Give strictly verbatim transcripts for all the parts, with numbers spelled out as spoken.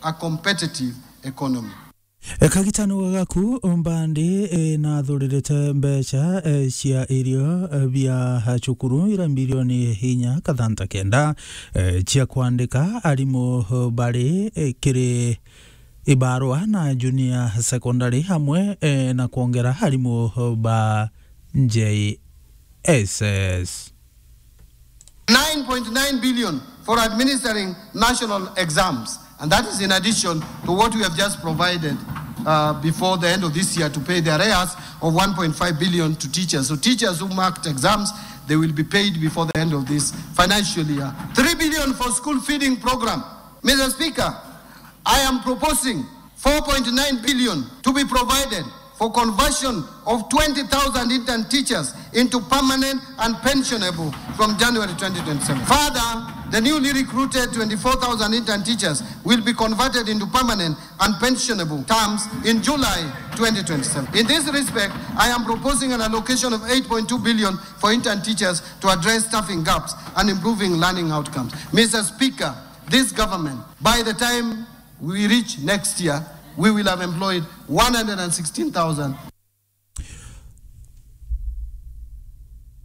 a competitive economy. E, kagitano gagaku, Mbandi, e, nathuririte mbeca, e, cia irio, e, bia cukuru ira mbirioni inya kathanta kenda, e, cia kwandika arimu, e, bari, e, kiri ibarua na junior secondary hamwe, e, na kwongera arimu, e, ba J S S. Nine point nine billion for administering national exams. And that is in addition to what we have just provided, uh, before the end of this year to pay the arrears of one point five billion to teachers. So teachers who marked exams, they will be paid before the end of this financial year. Three billion for school feeding program. Mister Speaker, I am proposing four point nine billion to be provided for conversion of twenty thousand intern teachers into permanent and pensionable from January twenty twenty-seven. Further, the newly recruited twenty-four thousand intern teachers will be converted into permanent and pensionable terms in July twenty twenty-seven. In this respect, I am proposing an allocation of eight point two billion for intern teachers to address staffing gaps and improving learning outcomes. Mister Speaker, this government, by the time we reach next year, we will have employed one hundred and sixteen thousand.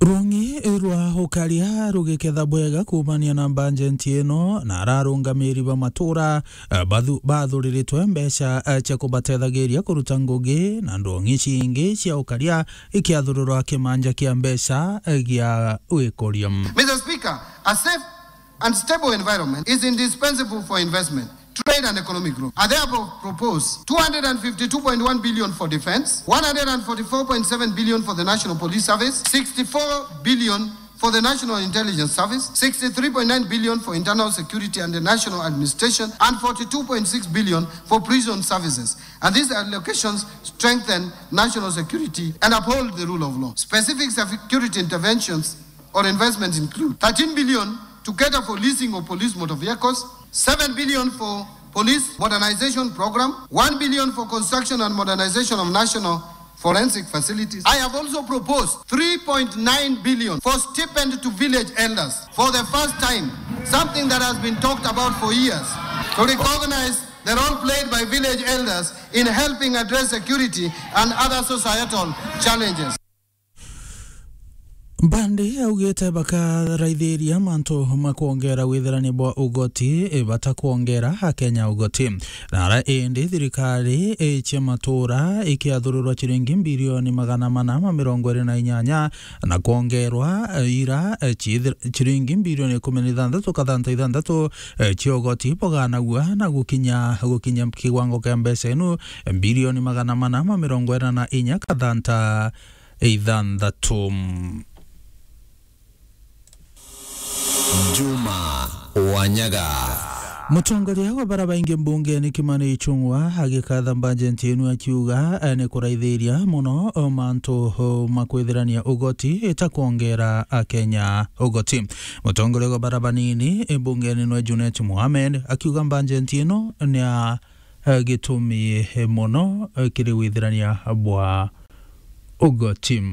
Rwong'i rwa ukaria rugiketha bwega kuumania na mbanjenti ino, na ararungamiri ba matura, eh, bathu-, bathuriritwe mbeca, eh, cia kubatethagiria kuruta ngugi na ndwong'i cingi cia ukaria ikiathururwa kimanja kia mbeca, eh, gia wikuria. Mister Speaker, a safe and stable environment is indispensable for investment, trade and economic growth. I therefore propose two hundred and fifty-two point one billion for defense, one hundred and forty-four point seven billion for the National Police Service, sixty-four billion for the National Intelligence Service, sixty-three point nine billion for internal security and the national administration, and forty-two point six billion for prison services. And these allocations strengthen national security and uphold the rule of law. Specific security interventions or investments include thirteen billion to cater for leasing of police motor vehicles, seven billion for police modernization program, one billion for construction and modernization of national forensic facilities. I have also proposed three point nine billion for stipend to village elders for the first time, something that has been talked about for years, to recognize the role played by village elders in helping address security and other societal challenges. Mbandi augite bakaraithiria mantu ma kwongera withirania bwa ugoti, e, bata kwongera Akenya ugoti. Na ara indi thirikari, e, cia matura ikiathururwa ciringi mbirioni magana mana ma mirongo iri na inyanya, na kwongerwa, e, ira, e, ciithir-, ciringi mbirioni ikumi na ithanthatu kathanta ithanthatu, e, cia ugoti buganagua na gukinya, gukinya kiwango kia mbeca inu, e, mbirioni magana mana ma mirongo ina na inya kathanta ithanthatu. Juma Wanyaga. Mutongoria wa bara baingi mbungeni Kimani Ichung'wa agikatha mbajeti inu akiuga, eh, ni kuraithiria muno, oh, mantu, oh, ma kwithirania ugoti ita kwongera Akenya ugoti. Mutongoria wa bara banini, eh, mbungeni nwe Junet Mohamed akiuga mbajeti ino ni ya eh, gitumi, eh, mono, eh, kiri withirania bwa ugoti.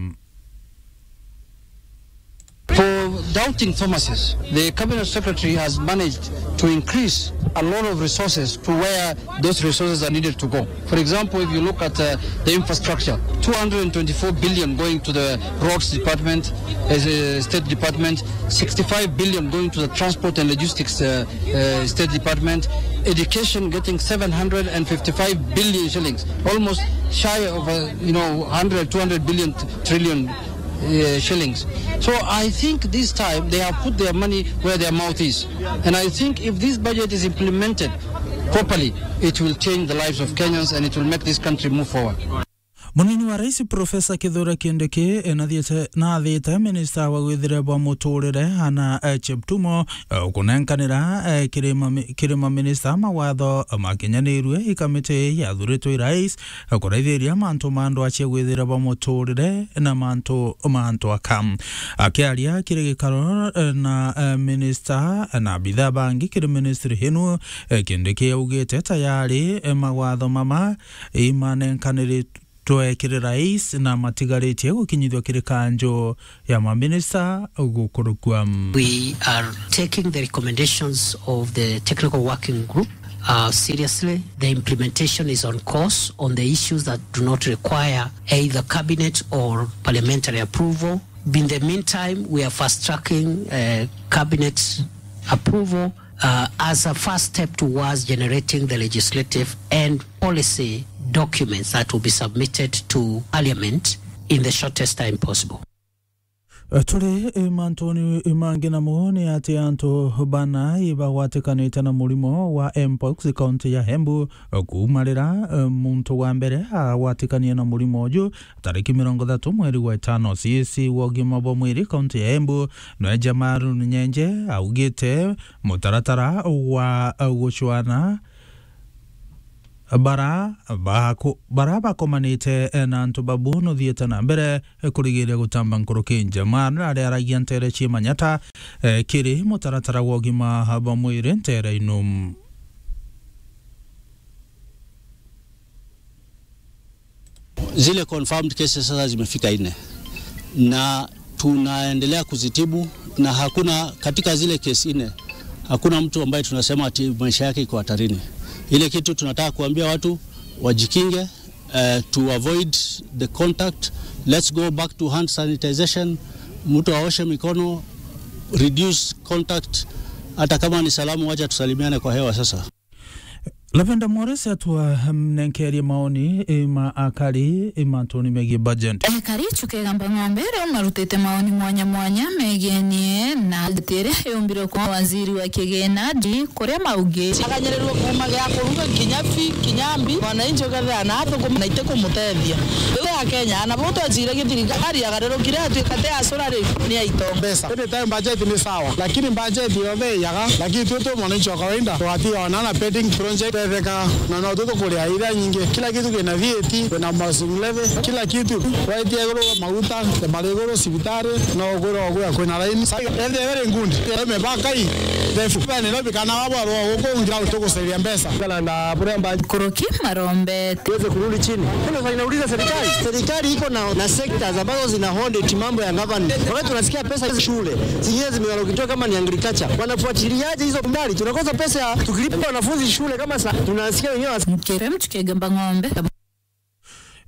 For doubting Thomas's, the cabinet secretary has managed to increase a lot of resources to where those resources are needed to go. For example, if you look at, uh, the infrastructure, two hundred and twenty-four billion going to the roads department, as a state department, sixty-five billion going to the transport and logistics, uh, uh, State Department, education getting seven hundred and fifty-five billion shillings, almost shy of, uh, you know, hundred, two hundred billion t-, trillion, uh, shillings. So I think this time they have put their money where their mouth is. And I think if this budget is implemented properly, it will change the lives of Kenyans and it will make this country move forward. Munini wa rais Profesa Kithure Kindiki, eh, nathiite, nathite minista wa gwithire bwa muturire Anna, eh, Cheptumo, eh, kunenkanira, eh, kiri mami-, kiri maminista mawatho makinyanirue i kamiti yathuritwe i rais, eh, kuraithiria mantu ma andu acio gwithire bwa muturire na mantu ma antu aka. Akiaria kiri gikaro, eh, na, eh, minista na abitha bangi kiri ministry inu, eh, Kindiki augite tayari, eh, mawatho mama imanenkaniri twe kiri rais na matigaritie gukinyithua kiri kanjo ya maminista gukurukua. We are taking the recommendations of the technical working group Uh, seriously, the implementation is on course on the issues that do not require either cabinet or parliamentary approval. In the meantime, we are fast-tracking, uh, cabinet approval, uh, as a first step towards generating the legislative and policy documents that will be submitted to Parliament in the shortest time possible. Turi mantuni mangi namo ni ati antu bana ibagwatikanite na murimo wa mpox kaunti ya Embu. Kuuma riria muntu wa mbere agwatikanie na murimo uju tariki mirongo ithatu mweri wa itano, C E C wa ugima bwa mwiri kaunti ya Embu nwe Jamarun Nyenje augite mutaratara wa gucwana bara baku-, bara bakomanite na antu babu nuthiite na mbere kurigiria gutamba nkuruki nja. Mwana aria aragia ntere cia manyata, eh, kiri mutaratara wa ugima bwa mwiri ntere inu. Zile confirmed cases sasa zimefika nne na tunaendelea kuzitibu, na hakuna, katika zile kesi nne, hakuna mtu ambaye tunasema ati maisha yake iko hatarini. Ile kitu tunataka kuambia watu wajikinge, eh, to avoid the contact. Let's go back to hand sanitization. Mtu aoshe mikono, reduce contact. Hata kama ni salamu, wacha tusalimiane kwa hewa sasa. Lavender Morris atwa, mm, nenkerie maoni, eh, ma akari, eh, mantuni megie budget. Ekari Chuka Igamba Ng'ombe riu marutite maoni mwanya mwanya megienie na budget iria yumbire kwa waziri wa kigina ndi kuria maugi. Akanyirirwe kuuma gia kuruga kinya fi, kinya mbi, mwananchi ukethira na athukuma na iti kumutethia. Riu ya Kenya, ana bo twajire githirikari agarurukire atuika te acura ri, ni aito. Mbeca. Anytime budget ni sawa, lakini budget yothe iyaga, lakini tu tu mwananchi wa kawaida twatiga wanana pending project tetheka, na no tu tukuria iria nyingi. Kila kitu kina V A T, kuna housing levy, kila kitu. Waitia iguru maguta, mari iguru cibitari, no ugure ogwe kwina line. Sasa, ende very good. Eme bakai, the food Nairobi kana wabo aro guku ngira tuguceria mbeca. Kana na buria mba Kuruki marombe. Tuweze kurudi chini. Kuna swali nauliza serikali. Serikali iko na, na sectors ambazo zina audit mambo ya government. Wakati tunasikia pesa hizi shule, zingine zimealokitwa kama ni agriculture. Wanafuatiliaje hizo mbali? Tunakosa pesa ya tukilipa wanafunzi shule kama sa-, tunasikia wenyewe was- Mkere Mchuka Igamba Ng'ombe.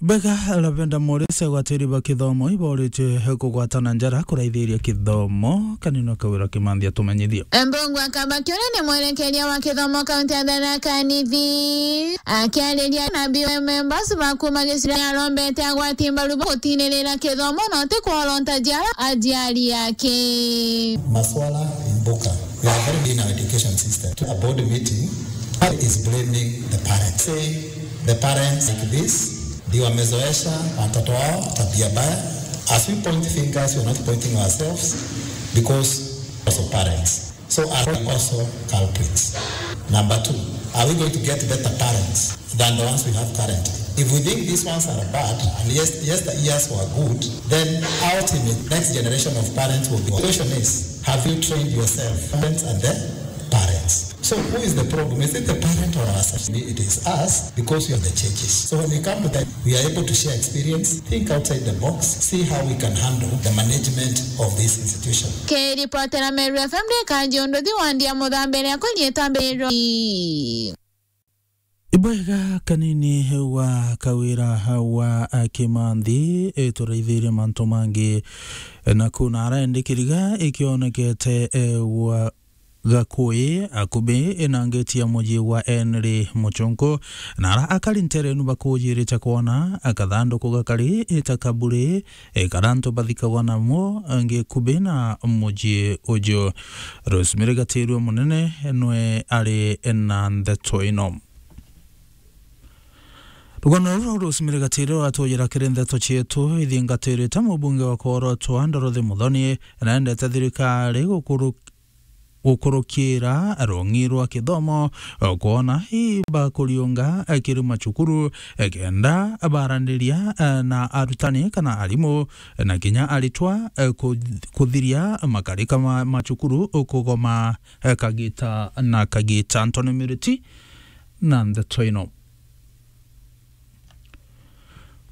Bega Lavender Morris agwatiri ba kithomo iboritwe kugwatana njara kuraithiria kithomo. Kanini Kawira Kimanthi atumenyithie. Mbunge wa Kabakione ni mwerekeria wa kithomo kaunti ya Tharaka Nithi. Akiariria na B M members ba kuuma gicigo arombete agwati mbaru ba gutinirira kithomo na uti kworonta jiara ajiari ake. Maswala imbuka. We are very in our education system. A board meeting is blaming the parents. Say the parents like this, ndio wamezoesha watoto wao tabia mbaya. As we point fingers, we are not pointing ourselves because also parents. So are we also culprits? Number two, are we going to get better parents than the ones we have currently? If we think these ones are bad, and yes, yes, the years were good, then ultimate next generation of parents will be. The question is, have you trained yourself, parents and the parents? So who is the problem? Is it the parent or ourselves? It is us, because we are the changes. So when we come to that, we are able to share experience, think outside the box, see how we can handle the management of this institution. Kiripotera Meru F M ni Kanji Unduthi wa Ndia Muthambe ria kunyita mbiro. Ibwega kanini wa Kawira wa Kimanthi, e, turaithirie mantu mangi, e, na kuna araendikiriga ikionekete, e, wa Gakui, akubi, e, na ngeti ya muji wa Henry Muchunku, na ara akari nterenu bakujirite kwona akathanduku gakari, e, ta kaburi, e, karia antu bathikagwa namo, e, ngikubi na muji uju. Rosemary Gatirua munene nwe ari na ndeto ino. Rugano ruru Rosemary Gatirua atujira kiri ndeto cietu ithingatirite mubunge wa Korotwa Dorothy Muthoni naendete thirikari gukuru-, gukurukira rung'i rwa kithomo, kwona i bakuriunga kiri macukuru, kenda baraniria na arutani kana arimu, na kinya aritwa, ku-, kuthiria makarika ma macukuru kugoma kagita na kagita. Anthony Miriti na ndeto ino.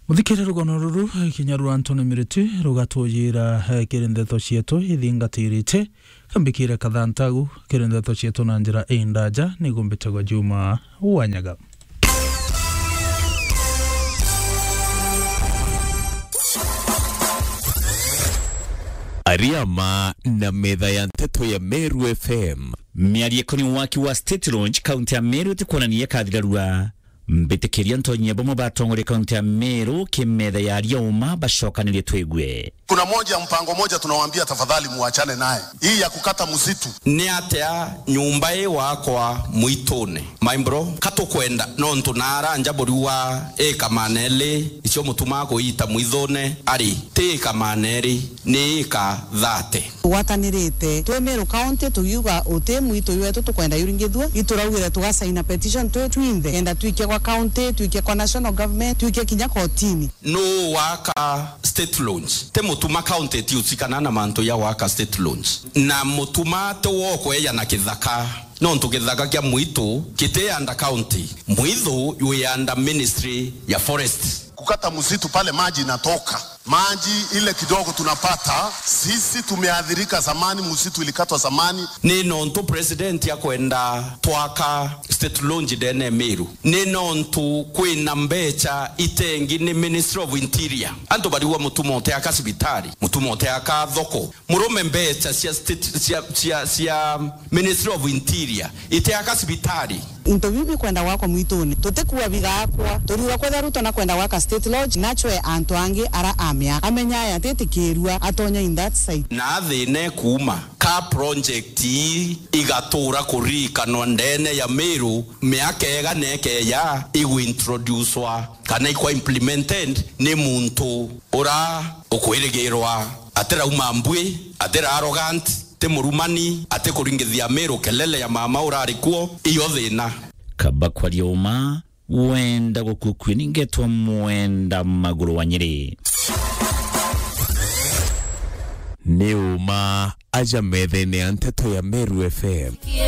Muthikire rugono ruru, kinya rwa Anthony Miriti, rugatujira, eh, kiri ndeto cietu ithingatirite. Kambikire kathantagu, kiri ndeto cietu na njira indaja, nigo mbitagwa Juma Wanyaga. Ariama na metha ya nteto ya Meru F M. Miario ikoni waki wa State Lodge, kaunti ya Meru, itikwonania ikathirarua. Mbitikiria ntonyia bamwe batongoria kaunti ya Meru kimetha ya Arioma bacokanirie twigue. Kuna moja, mpango moja tunawaambia, tafadhali muachane naye. Hii ya kukata msitu. Ni atia nyumba ii wakwa mwitune? My bro, ka tukwenda, nontu naara nja buriwa ika maneli icio mutuma kuita mwithune, ari ti ika maneli, ni ika thate. Tugwatanirite twi Meru County, tugiuga uti mwitu wetu tukwenda yuringithua, ituraugire tugasaina petition twi twinthe, kenda twikia kwa county, twikia kwa national government, twikia kinya kotini. Nuu waka State Lodge? Ti Mutuma County itiusikana na mantu ya waka State Lodge. Na Mutuma ti wokweja na kithaka, nontu kithaka kia mwitu kiti under county. Mwithu wi under ministry ya forest. Kukata msitu pale maji inatoka. Maji ile kidogo tunapata, sisi tumeathirika zamani, msitu ilikatwa zamani. Ni nontu president akwenda twaka State Lodge ndene Meru. Ni nontu kwina mbecha itengi ni Ministry of Interior. Antu bariwa Mutuma uteaka cibitari, Mutuma uteaka thoko. Murume, mbecha cia state, cia, cia, cia Ministry of Interior iteaka cibitari. Into biu bikwenda gwakwa mwitune, tutikuua bigaakwa. Turiuga kwethira Ruto nakwenda gwaka State Lodge, nachwe antu angi ara amea, amenya aya atitikirua atonya in that site. Na athine kuuma ka project ii igatura kuririkanwa ndene ya Meru, miaka igana ikeeja iguintroducwa kana ikwa implemented ni muntu ura ukwirigirwa, atirauma mbui, atira arrogant, ti murumani, atikuringithia Meru kelele ya mama urari kuo, iyo thina. Kaba kwaria uma, wenda gukukue ningetwa mwenda maguru wa Nyeri. Ni uma aja methene ya nteto ya Meru F M.